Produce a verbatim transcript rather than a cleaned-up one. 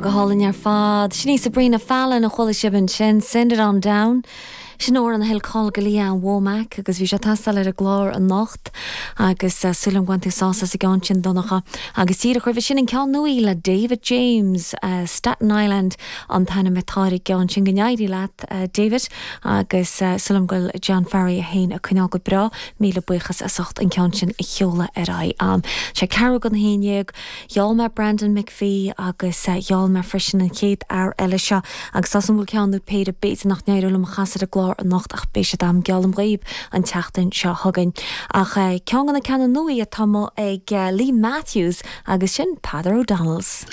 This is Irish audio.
Tá go hálainn ar fad. Sin í Sabrina Fallon a chuala sibh ansin send it on down. Sin amhrán a thuill cáil go Lee Ann Womack agus bhí sé ag teastáil ar an gclár anocht agus uh, súil agam gur bhain tú sásamh as an gceann sin Donncha agus díreach roimhe sin an ceann nua le David James uh, Staten Island an t-ainm atá ar an gceann sin go n-éirí leat uh, David agus uh, súil agam go bhfuil John Farry a haon a coinneáil go breá míle buíochas as ucht an ceann sin a sheoladh ar aghaidh. Um, sé ceathrú don haon déag, Gheall mé Brandon McPhee agus uh, gheall mé freisin an chéad fhear eile seo agus tá an bhfuil ceann nó péire b'fhéidir nach n-éireoidh liom a chasadh ar an gclár anocht ach beidh siad agam geallaim dhaoibh an tseachtain seo chugainn. Ach uh, ceann de na ceanna nua atá ag uh, Lee Matthews agus sin Peadar O'Donnell's.